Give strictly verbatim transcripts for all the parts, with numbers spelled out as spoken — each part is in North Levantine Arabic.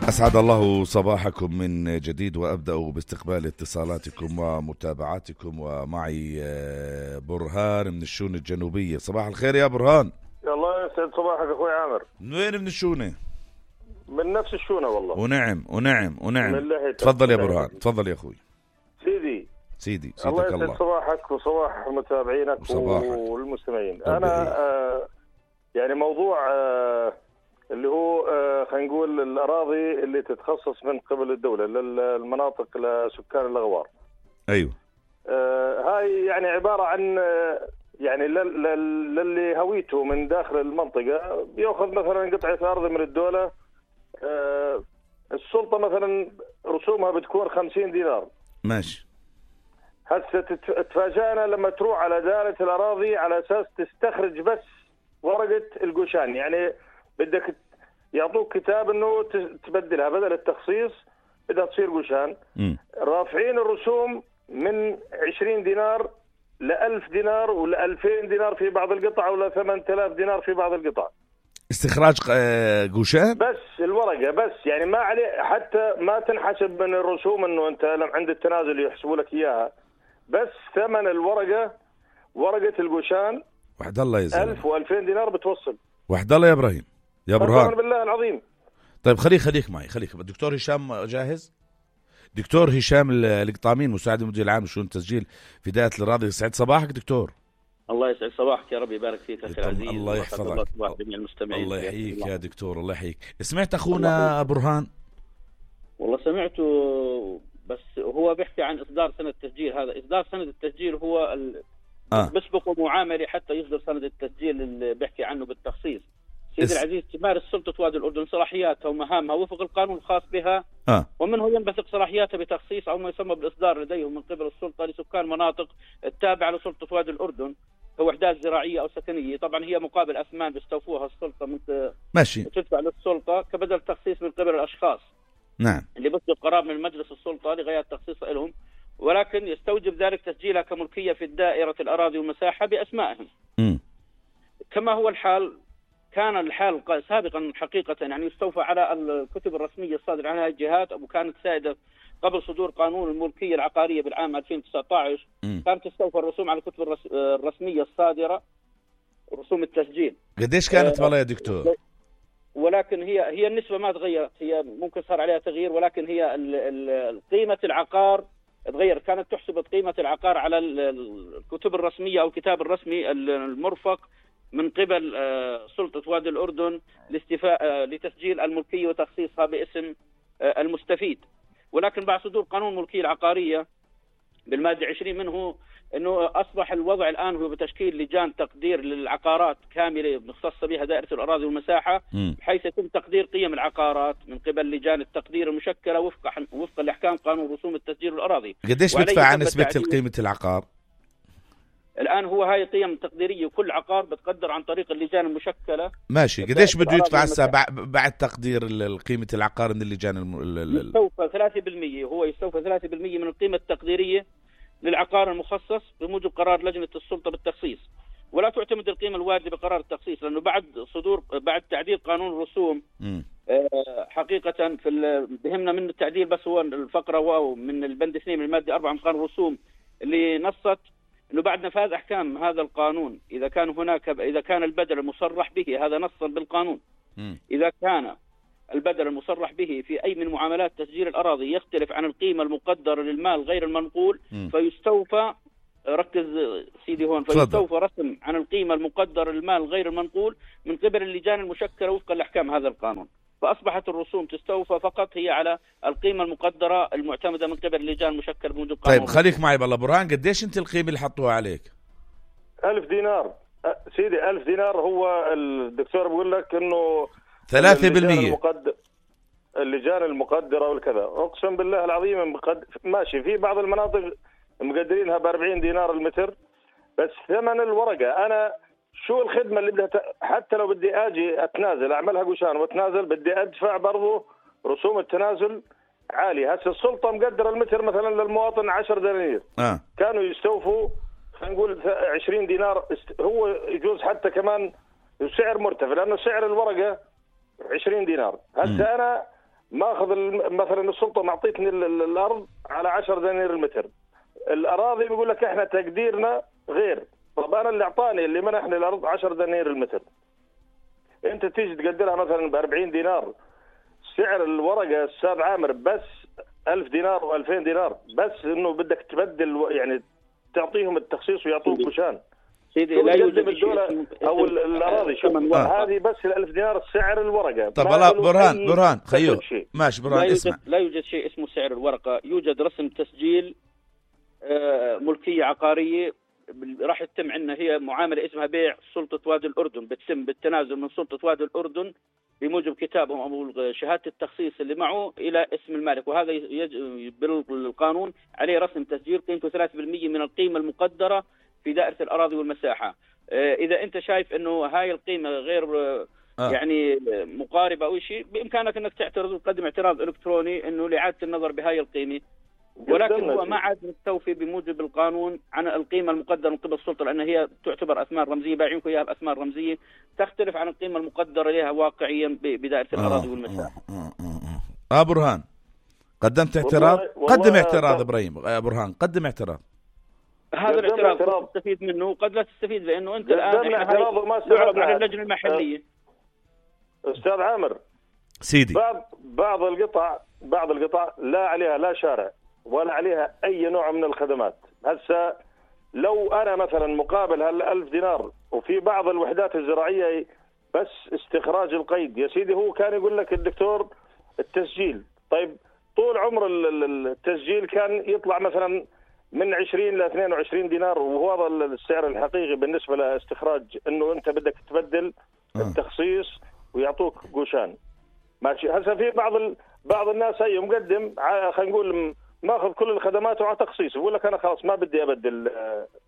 أسعد الله صباحكم من جديد، وأبدأ باستقبال اتصالاتكم ومتابعاتكم، ومعي برهان من الشونة الجنوبية. صباح الخير يا برهان. الله يسعد صباحك أخوي عامر. من وين من الشونة؟ من نفس الشونة والله. ونعم ونعم ونعم. تفضل يا برهان، تفضل يا أخوي. سيدي سيدي سيدك الله الله. يسعد صباحك وصباح متابعينك وصباحك والمستمعين. أنا آه يعني موضوع آه اللي هو آه خلينا نقول الأراضي اللي تتخصص من قبل الدولة للمناطق لسكان الأغوار. أيوه. آه هاي يعني عبارة عن آه يعني للي هويته من داخل المنطقة بيأخذ مثلا قطعة أرض من الدولة. آه السلطة مثلا رسومها بتكون خمسين دينار. ماشي. هسه تفاجأنا لما تروح على دائرة الأراضي على أساس تستخرج بس ورقة القوشان، يعني بدك يعطوك كتاب انه تبدلها بدل التخصيص بدها تصير قوشان. رافعين الرسوم من عشرين دينار لألف دينار ولألفين دينار في بعض القطع ولا ثمانية آلاف دينار في بعض القطع. استخراج قوشان بس الورقة بس، يعني ما عليه حتى ما تنحسب من الرسوم انه انت عند التنازل يحسبوا لك اياها، بس ثمن الورقة ورقة القوشان وحد الله يا زلمة ألف وألفين دينار بتوصل. وحد الله يا إبراهيم يا برهان بالله العظيم. طيب خليك خليك معي خليك. الدكتور هشام جاهز؟ دكتور هشام القطامين مساعد المدير العام لشؤون التسجيل في دائرة الأراضي. يسعد صباحك دكتور. الله يسعد صباحك يا رب يبارك فيك أخي العزيز. الله يحفظك. الله يحييك يا دكتور. الله يحييك. سمعت أخونا برهان؟ والله سمعته، بس هو بيحكي عن إصدار سنة التسجيل. هذا إصدار سنة التسجيل هو ال... آه. بسبقوا معاملة حتى يصدر سنة التسجيل اللي بيحكي عنه بالتخصيص. سيدي اس... العزيز تمارس سلطة وادي الأردن صلاحياتها ومهامها وفق القانون الخاص بها. آه. ومنه ينبثق صلاحياتها بتخصيص أو ما يسمى بالإصدار لديهم من قبل السلطة لسكان مناطق التابعة لسلطة وادي الأردن كوحدات زراعية أو سكنية. طبعا هي مقابل أثمان بيستوفوها السلطة من ماشي تدفع للسلطة كبدل تخصيص من قبل الأشخاص. نعم. اللي بيصدر قرار من مجلس السلطة لغاية تخصيص لهم، ولكن يستوجب ذلك تسجيلها كملكية في الدائرة الأراضي والمساحة بأسمائهم. م. كما هو الحال كان الحال سابقا حقيقة، يعني يستوفى على الكتب الرسمية الصادرة عن هذه الجهات، وكانت سائدة قبل صدور قانون الملكية العقارية بالعام ألفين وتسعة عشر. م. كانت تستوفى الرسوم على الكتب الرسمية الصادرة، رسوم التسجيل. قديش كانت والله يا دكتور؟ ولكن هي هي النسبة ما تغيرت، هي ممكن صار عليها تغيير، ولكن هي قيمة العقار تغير. كانت تحسب قيمة العقار على الكتب الرسمية أو الكتاب الرسمي المرفق من قبل سلطة وادي الأردن لاستيفاء لتسجيل الملكية وتخصيصها باسم المستفيد. ولكن بعد صدور قانون الملكية العقارية بالمادة عشرين منه انه اصبح الوضع الان هو بتشكيل لجان تقدير للعقارات كامله مختصه بها دائره الاراضي والمساحه، بحيث يتم تقدير قيم العقارات من قبل لجان التقدير المشكله وفق وفق لاحكام قانون رسوم التسجيل الاراضي. قديش بدفع عن نسبه قيمه العقار؟ الان هو هاي قيم تقديريه، كل عقار بتقدر عن طريق اللجان المشكله. ماشي. قديش بده يدفع هسه بعد تقدير قيمه العقار من اللجان الم... يستوفى ثلاثة بالمئة، هو يستوفى ثلاثة بالمئة من القيمه التقديريه للعقار المخصص بموجب قرار لجنة السلطة بالتخصيص، ولا تعتمد القيمة الواردة بقرار التخصيص، لأنه بعد صدور بعد تعديل قانون الرسوم آه حقيقة في بهمنا من التعديل بس هو الفقرة واو من البند اثنين من المادة أربعة من قانون الرسوم اللي نصت إنه بعد نفاذ أحكام هذا القانون إذا كان هناك إذا كان البدل المصرح به، هذا نصا بالقانون، م. إذا كان البدل المصرح به في أي من معاملات تسجيل الأراضي يختلف عن القيمة المقدرة للمال غير المنقول، م. فيستوفى ركز سيدي هون فيستوفى رسم عن القيمة المقدرة للمال غير المنقول من قبل اللجان المشكلة وفقا لأحكام هذا القانون. فأصبحت الرسوم تستوفى فقط هي على القيمة المقدرة المعتمدة من قبل اللجان المشكلة بموجب قانون. طيب خليك معي بالله برهان، قديش أنت القيمة اللي حطوها عليك؟ ألف دينار سيدي. ألف دينار. هو الدكتور بيقول لك إنه ثلاثة بالمية اللجان المقدرة والكذا. أقسم بالله العظيم مقد... ماشي في بعض المناطق مقدرينها بأربعين دينار المتر، بس ثمن الورقة. أنا شو الخدمة اللي بدها ت... حتى لو بدي أجي أتنازل أعملها قوشان وأتنازل بدي أدفع برضو رسوم التنازل عالية. هسه السلطة مقدرة المتر مثلا للمواطن عشر دنانير، آه. كانوا يستوفوا خلينا نقول عشرين دينار. هو يجوز حتى كمان سعر مرتفع لأنه سعر الورقة عشرين دينار. هسه أنا ماخذ مثلا السلطه معطيتني الارض على عشرة دنانير المتر، الاراضي بيقول لك احنا تقديرنا غير. طب انا اللي اعطاني اللي منحني الارض عشرة دنانير المتر، انت تيجي تقدرها مثلا ب أربعين دينار، سعر الورقه استاذ عامر بس ألف دينار وألفين دينار، بس انه بدك تبدل يعني تعطيهم التخصيص ويعطوك كوشان. سيدي لا يوجد الدولة او الاراضي شو آه. هذه بس الألف دينار سعر الورقه. طب والله برهان برهان خيو ماشي برهان لا اسمع، يوجد لا يوجد شيء اسمه سعر الورقه، يوجد رسم تسجيل آه ملكيه عقاريه راح يتم عندنا، هي معامله اسمها بيع سلطه وادي الاردن، بتتم بالتنازل من سلطه وادي الاردن بموجب كتابهم او شهاده التخصيص اللي معه الى اسم المالك، وهذا بالقانون عليه رسم تسجيل قيمته ثلاثة بالمئة من القيمه المقدره في دائره الاراضي والمساحه. اذا انت شايف انه هاي القيمه غير آه. يعني مقاربه او شيء، بامكانك انك تعترض وتقدم اعتراض الكتروني انه لاعاده النظر بهاي القيمه، ولكن هو ما عاد مستوفي بموجب القانون عن القيمه المقدره من قبل السلطه، لان هي تعتبر اثمان رمزيه، بايعينكم اياها باثمان رمزيه تختلف عن القيمه المقدره لها واقعيا بدائره الاراضي والمساحه. اه, آه, آه, آه برهان قدمت اعتراض؟ قدم اعتراض ابراهيم. آه برهان قدم اعتراض. هذا الاعتراض قد تستفيد منه وقد لا تستفيد، لانه انت الان يعرض على اللجنه المحليه. استاذ عامر سيدي، بعض بعض القطع بعض القطع لا عليها لا شارع ولا عليها اي نوع من الخدمات. هسه لو انا مثلا مقابل هالألف دينار وفي بعض الوحدات الزراعيه بس استخراج القيد، يا سيدي هو كان يقول لك الدكتور التسجيل، طيب طول عمر التسجيل كان يطلع مثلا من عشرين ل اثنين وعشرين دينار، وهو هذا السعر الحقيقي بالنسبه لاستخراج، انه انت بدك تبدل التخصيص ويعطوك قوشان. ماشي. هسه في بعض ال... بعض الناس هي مقدم خلينا نقول ماخذ كل الخدمات وعلى تخصيص، يقول لك انا خلاص ما بدي ابدل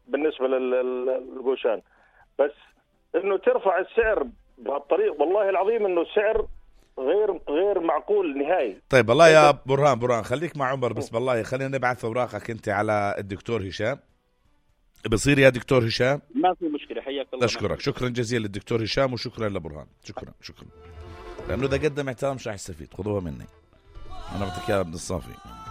بالنسبه للقوشان، بس انه ترفع السعر بهالطريق والله العظيم انه السعر غير غير معقول نهائي. طيب والله يا برهان برهان خليك مع عمر بس، والله خلينا نبعث اوراقك انت على الدكتور هشام. بصير يا دكتور هشام؟ ما في مشكله، حياك الله. اشكرك شكرا جزيلا للدكتور هشام وشكرا لبرهان، شكرا شكرا، لانه اذا قدم احترام مش راح يستفيد. خذوها مني انا، بعطيك اياها ابن الصافي.